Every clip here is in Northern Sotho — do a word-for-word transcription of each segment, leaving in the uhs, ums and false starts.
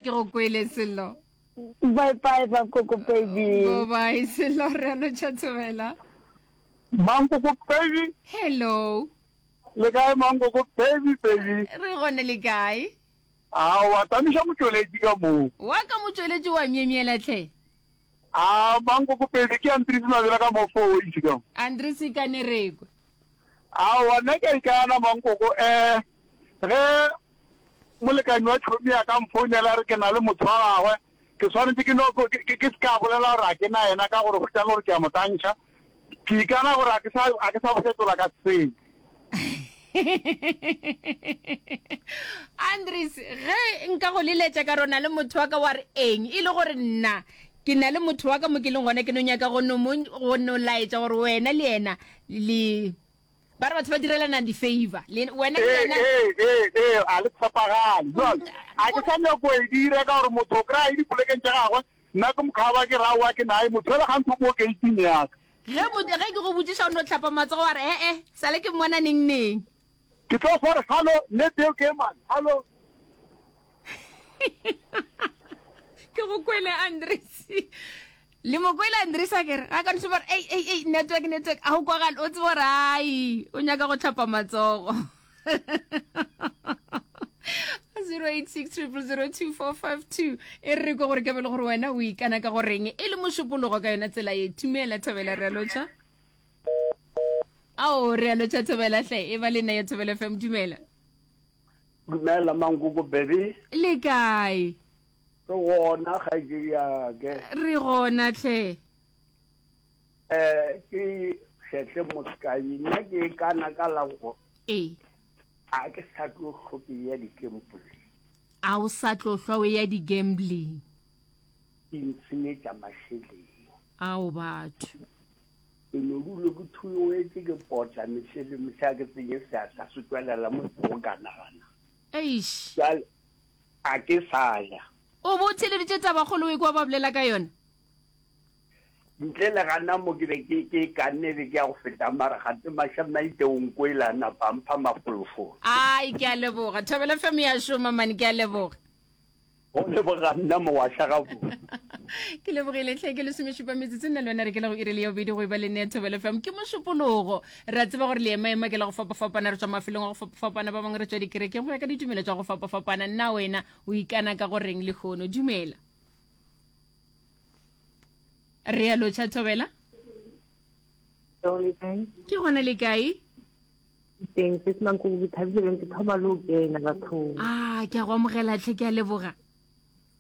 Ke go kwele Sello. Bye bye Mankoko baby. Bye bye Sello re a lotšha thobela. Mankoko baby. Hello. Le kae Mankoko baby baby. Re gone le kae? A wa tamiša motšweletši ka moo. Wa ka motšweletši wa myemyela hle. A Mankoko baby ke Andries Mabela ka mo four ways ka mo. Andries ka Nerekwe. Aowa nna ke a ikana Mankoko eh ge Molekani wa tšhomi a ka mfounela a re ke na le motho wa gagwe, ke swanetše ke no ke, ke se ka bolela gore a ke na yena ka gore hwetša le gore ke a mo tantšha. Ke ikana gore a ke sa, a ke sa bo fetola ka selo. Andries, ge nka go leletša ka re o na le motho wa ka wa re eng, e le gore nna ke na le motho wa ka mo ke leng gona ke no nyaka go no mo, go no laetša gore wena le yena le Ba re batho ba direlana di-favor. Le wena le Ee, yena. ee, ee, ee, a le tshepagale. Jwale, a ke sa nyako e dira ka gore motho o kry-a e dipolekeng tša gagwe, nna ke mokhaba ke re aowa ke naye, motho yola gantši o mo gate-ing ya ka. Ge mo, ge ke go botšiša o no hlapa matsogo wa re e-e, sale ke mmona neng neng. Ke tlo fo re hallo, nnete eo ke e mang? Hallo. Ke go kwele Andries. Le mo kwele Andries a kere ga ka no gore ei ei ei network network a go kwagale o tsebe gore ai o nyaka go tlhapa matsogo. zero eight six triple zero two four five two e re re kwe gore ke be le gore wena o ikana ka goreng e le mošupologo ka yona tsela ye thumela thobela re a lotšha ao re a lotšha thobela hle e ba le nna ya thobela fm dumela Dumela Mankoko baby. Le kae? Re gona kgaetšedi yake. Re gona hle. Eh ke Shetle Moskanyi nna ke e kana ka la go. Ee. A ke sa tlo hlwa ke ya di-gambling. A o sa tlo hlwa o ya di-gambling. Di ntshenyetša mašeleng. Ao batho. Ke no dula ke thuwetše ke potla mehle le mehle a ke tsenye seatla se tšwelela mo go ka nagana. Eish. Bjale a ke sa ja. O bo o theeleditše tabakgolo o ekwa ba bolela ka yona? Ntle le gana mo ke be ke ke kanne be ke ya go feta mara gate Mašamaite o nkwele a napa a mpha mafolofolo. Ai ke a leboga. Thobela F M ya šoma man ke a leboga. Go leboga nna mogwahla gabotse. Ke lebogile hle ke lesomešupa metsotso nna le wena re ke la go iri le ya bobedi go e ba le nne ya Thobela F M ke mošupologo re a tseba gore leemaema ke la go fapafapana re tšwa mafelong a go fapafapana ba bangwe re tšwa dikerekeng go ya ka ditumelo tša go fapafapana nna wena o ikana ka goreng lehono dumela re a lotšha Thobela ke gona le kae Teng se se mankoko ke thabile bjang ke thoma le go kena bathong. Ah, ke a go amogela tlhe ke a leboga.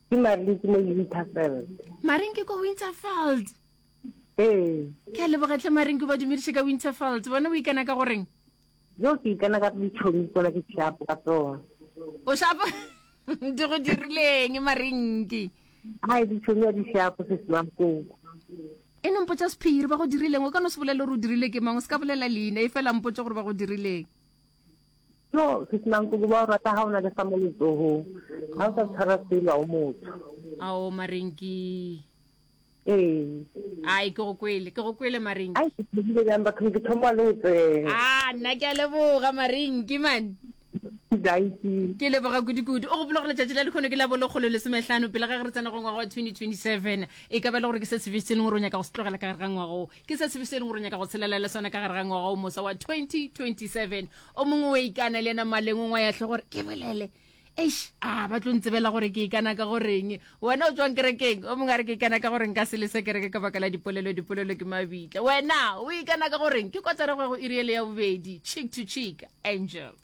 Ke Maring ke mo Winterfeld. Maring ke ko Winterfeld. Ee. Ke a leboga tlhe Maring ke ba dumediše ka Winterfeld. Bona o ikana ka goreng? Yo ke ikana ka ditšhomi tsona ke shapo ka tsona. O shapo di go dirileng Marinki? Ai ditšhomi a di shapo se se mankoko. E no mpotša sephiri, ba go dirileng? O ka no se bolele gore o dirile ke mang, o se ka bolela leina, efela mpotše gore ba go dirileng. No, Sisi Mankoko, ba o rata ga o na le sa mo letsogong. Ga o sa tshwara selo, ga o motho. Ao, Marenki. Ee. Ai, ke go kwele, ke go kwele, Marenki. Ai, ke thobile bjang bathong, ke thoma le go tsena. Ah, nna ke a leboga, Marenki, man. Dankie. Ke leboga kudu-kudu. O gopola gore letšatši la lehono ke la bo lekgolo lesomehlano pele ga ge re tsena go ngwaga wa twenty twenty-seven. E ka ba e le gore ke se sefe se e leng gore o nyaka go se tlogela ka gare ga ngwaga wo? Ke se sefe se e leng gore o nyaka go tshelela le sona ka gare ga ngwaga o mosa wa twenty twenty-seven? O mongwe o ikana le yena maleng o ngwaya hle gore ke bolele. Eish, a ba tlo ntsebela gore ke ikana ka goreng. Wena o tšwang kerekeng, o mongwe a re ke ikana ka gore nka se lese kereke ka baka la dipolelo, dipolelo ke mabitla. Wena o ikana ka goreng? Ke kotara go ya go iri ele ya bobedi. Cheek to cheek, Angel.